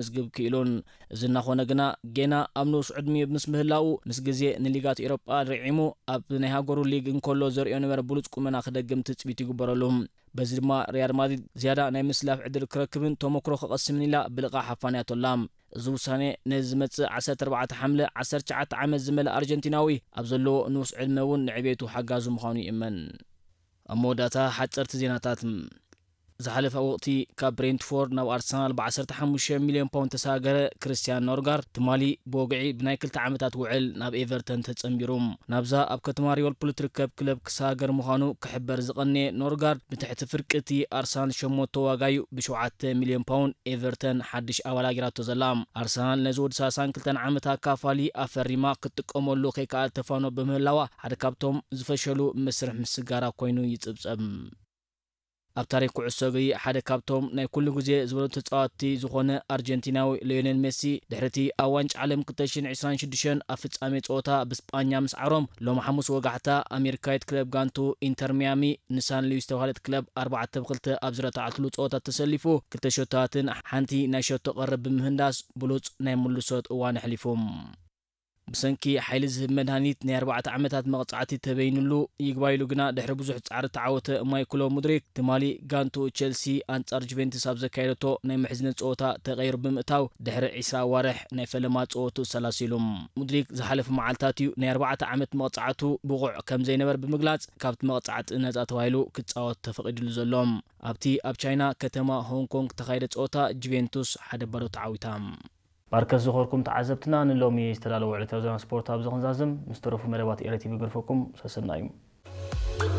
ክምዝግብ ክኢሉን። እዚ እናኾነ ግና ጌና ኣብ ንኡስ ዕድሚኡ ምስ ምህላዉ ምስ ግዜ ንሊጋት ኤውሮጳ ርዒሙ ኣብ ናይ ሃገሩ ሊግ እንከሎ ዘርእዮ ነበረ ብሉጽ ቁመና ክደግም ትጽቢት ይግበረሉ። በዚ ድማ ሪያል ማድሪድ ዝያዳ ናይ ምስላፍ ዕድል ክረክብን ተመክሮ ክቐስምን ኢላ ብልቓ ሓፋንያቶ ኣላ። እዚ ውሳኔ ነዚ ዝመጽእ ዓሰርተ ኣርባዕተ ሓምለ ዓሰርተ ትሽዓተ ዓመት ዝመልእ ኣርጀንቲናዊ ኣብ ዘለዎ ንኡስ ዕድመ እውን ንዕቤቱ ሓጋዙ ምዃኑ ይእመን። ኣብ መወዳእታ ሓጸርቲ ዜናታት። ዝሓለፈ ወቕቲ ካብ ብሬንትፎርድ ናብ ኣርሰናል ብ15 ሚልዮን ፓውንድ ተሳገረ ክርስቲያን ኖርጋርድ ትማሊ ብወግዒ ብናይ ክልተ ዓመታት ውዕል ናብ ኤቨርተን ተጸንቢሩ። ናብዛ ኣብ ከተማ ሊቨርፑል እትርከብ ክለብ ክሳገር ምዃኑ ክሕበር ዝቐነየ ኖርጋርድ ብትሕቲ ፍርቂ እቲ ኣርሰናል ሸሞንተ ዋጋዩ ብ7 ሚልዮን ፓውንድ ኤቨርተን ሓድሽ ኣባል ኣጊራቶ ዘላ። ኣርሰናል ነዚ ወዲ ሰላሳን ክልተን ዓመት ኣካፋሊ ኣፈሪማ ክትጥቀመሉ ከይከኣል ተፋኖ ብምህላዋ ሓደ ካብቶም ዝፈሸሉ መስርሕ ምስጋራ ኮይኑ ይጽብጸብ። ኣብ ታሪክ ኩዕሶ እግሪ ሓደ ካብቶም ናይ ኩሉ ግዜ ዝበሉ ተጻወትቲ ዝኾነ ኣርጀንቲናዊ ሊዮኔል ሜሲ ድሕሪ እቲ ኣብ ዋንጫ ዓለም ክልተ ሽሕን ዕስራን ሽዱሽተን ኣብ ፍጻሜ ጸወታ ብስጳኛ ምስዓሮም ሎም ሓሙስ ወጋሕታ ኣሜሪካዊት ክለብ ጋንቱ ኢንተር ሚያሚ ንሳን ሉዊስ ዝተባህለት ክለብ ኣርባዕተ ብ ክልተ ኣብ ዝረታዓትሉ ጸወታ ተሰሊፉ ክልተ ሸቶታትን ሓንቲ ናይ ሸቶ ቀረብ ብምህንዳስ ብሉጽ ናይ ምልሶት እዋን ኣሕሊፉ። ብሰንኪ ሓይሊ ዝህብ መድሃኒት ናይ ኣርባዕተ ዓመታት መቕጻዕቲ ተበይንሉ ይግባይ ኢሉ ግና ድሕሪ ብዙሕ ጻዕሪ ተዓወተ ማይክሎ ሙድሪክ ትማሊ ጋንቱ ቸልሲ ኣንጻር ጁቬንቱስ ኣብ ዘካየደቶ ናይ ምሕዝነት ጸወታ ተቐይሩ ብምእታው ድሕሪ ዕስራ ኣዋርሕ ናይ ፈለማ ጸወቱ ሰላሲሉ። ሙድሪክ ዝሓለፈ መዓልታት እዩ ናይ ኣርባዕተ ዓመት መቕጻዕቱ ብቑዕ ከም ዘይነበር ብምግላጽ ካብቲ መቕጻዕቲ ነጻ ተባሂሉ ክጻወት ተፈቒድሉ ዘሎ። ኣብቲ ኣብ ቻይና ከተማ ሆንግ ኮንግ ተኻየደ ጸወታ ጁቬንቱስ ሓደ ባዶ ተዓዊታ። ባርከስ ዝኾርኩም ተዓዘብትና ንሎሚ ዝተዳለወ ዕለታዊ ዜና ስፖርት ኣብዚ ክንዛዝም፣ ምስ ተረፉ መደባት ኤረ ቲቪ ገርፈኩም ሰሰናዩ።